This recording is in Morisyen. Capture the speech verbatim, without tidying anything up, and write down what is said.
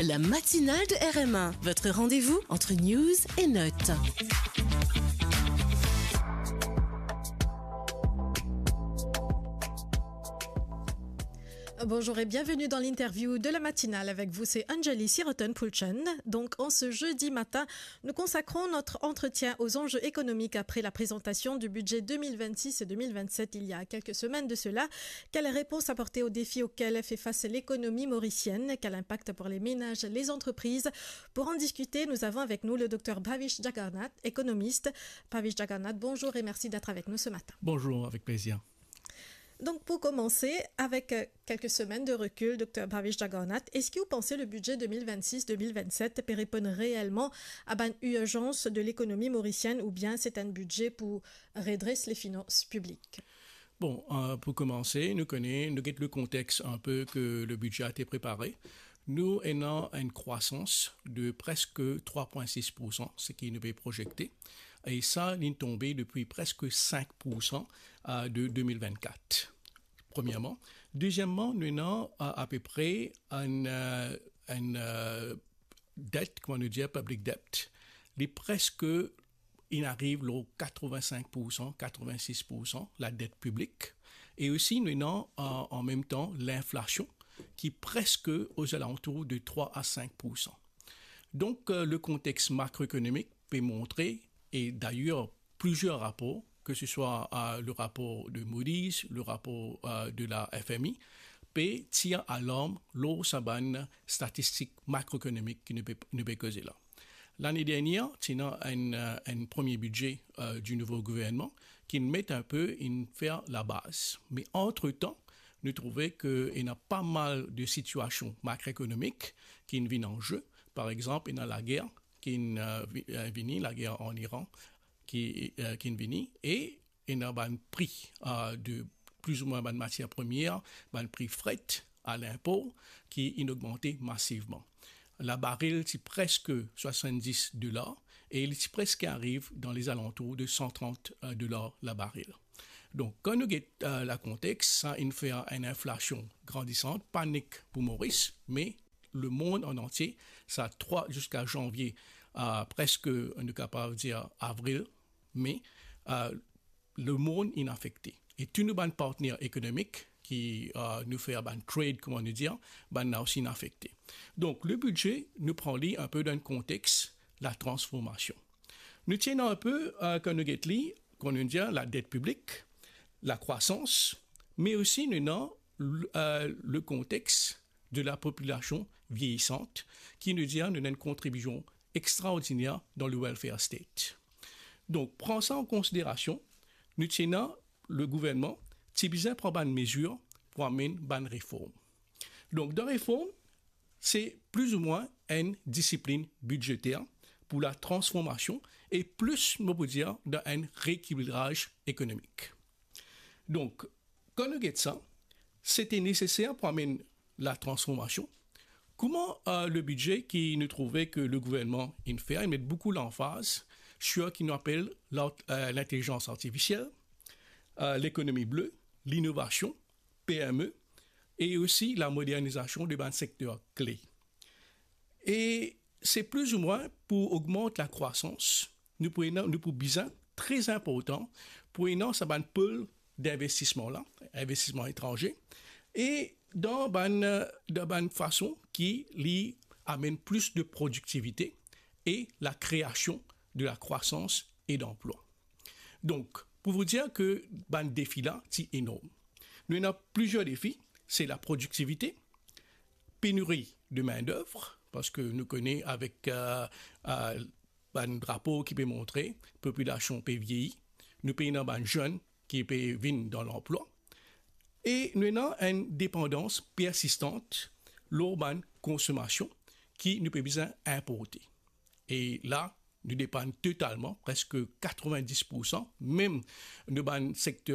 La matinale de R M A, votre rendez-vous entre news et notes. Bonjour et bienvenue dans l'interview de la matinale. Avec vous, c'est Anjali Siroton Pulchen. Donc, en ce jeudi matin, nous consacrons notre entretien aux enjeux économiques après la présentation du budget deux mille vingt-six et deux mille vingt-sept il y a quelques semaines de cela. Quelles réponses apporter aux défis auxquels fait face l'économie mauricienne ? Quel impact pour les ménages, les entreprises ? Pour en discuter, nous avons avec nous le docteur Bhavish Jagannath, économiste. Bhavish Jagannath, bonjour et merci d'être avec nous ce matin. Bonjour, avec plaisir. Donc, pour commencer, avec, euh, quelques semaines de recul, docteur Bhavish Jagannath, eski ou panse le budget deux mille vingt-six deux mille vingt-sept pe reponn reelman a bann irzans de lekonomi morisienn oubien se enn bidze pou redres le finans piblik? Bon, euh, pou koumanse, nou kone, nou get le kontex inpe ke le bidze a ete prepare. Nou ena enn krwasans de preske trwa pwin sis poursan, seki nou pe prozekte. E sa, li tonbe depi preske sink poursan, euh, de de mil vennkat, premierman. Dezieman, nou ena, euh, apepre enn, euh, enn, euh, det, kouma nou dir, public debt. Li preske, inn ariv lor katrevin-sink poursan, katrevin-sis poursan, ladet piblik. E osi, nou ena, euh, an mem tan, linflasion, ki preske ozalantour de trwa a sink poursan. Donk, euh, le kontex makroekonomik pe montre, e dayer, plizier rapor, ke se swa, euh, le rapor de Moody's, le rapor, euh, de la F M I, pe tir alarm lor sa bann statistik makroekonomik ki nou pe, nou pe koze la. Lane dernier, ti ena enn, euh, enn premie bidze, euh, di nouvo gouvernman, ki inn met inpe, inn fer labaz. Me antretan, nou trouve ke ena pa mal de sitiasion makroekonomik ki inn vinn an ze. Par exanp, ena lager ki inn, euh, vi-, euh, vini, lager an Iran, ki, euh, ki inn vini, e ena bann pri, euh, de plizoumwin bann matier premie, bann pri fret a linpor ki inn ogmante masivman. Labaril ti preske swasanndis dolar e li ti preske ariv dan lezalantour de san trant, euh, dolar labaril. Donk, kan nou get, euh, lakonteks, sa inn fer enn inflasion grandisant, pa nik pou Moris, me lemond an antie, sa trwa ziska zanvie, euh, preske, nou kapav dir, avril, me, euh, lemond inn afekte. E tou nou bann partner ekonomik ki, euh, nou fer bann trade, kouma nou dir, bann la osi inn afekte. Donk, le bidze, nou pran li inpe dan konteks latransformasion. Nou ti ena inpe, euh, kan nou get li, kouma nou dir, ladet piblik, lakrwasans, me osi nou ena l-, euh, le konteks de lapopilasion vieyisant, ki nou dir nou ena enn kontribision extraordiner dan le welfare state. Donk, pran sa an konsiderasion, nou ti ena le gouvernman ti bizin pran bann mezir pou amenn bann reform. Donk, dan reform, se plizoumwin enn disiplinn bidzeter pou latransformasion e plis, mo pou dir, dan enn reekilibraz ekonomik. Donk, kan nou get sa, se ti neseser pou amenn latransformasion. Kouma, euh, le bidze ki nou trouve ke le gouvernman inn fer, inn met boukou lanfaz sir ki nou apel lar-, euh, lintelizans artifisiel, euh, lekonomi ble, linovasion, P M E, e osi lamodernizasion de bann sekter kle. E se plizoumwin pou ogmant lakrwasans, nou pou ena, nou pou bizin, tre inportan, pou ena sa bann pol dinvestisman la, investisman etranze, e dan bann, dan bann fason ki li amenn plis de prodiktivite e lakreasion de lakrwasans e danplwa. Donk, pou vous dire ke bann defi la ti enorm. Nou ena plizier defi, se laprodiktivite, peniri de main d'œuvre, parski nou kone avek, euh, euh, bann rapor ki pe montre popilasion pe vieyi, nou pe ena bann zenn ki pe vinn dan lanplwa, e nou ena enn depandans persistant lor bann konsomasion ki nou pe bizin inporte. E la, nou depann totalman, preske katrevin-dis poursan, mem nou bann sekter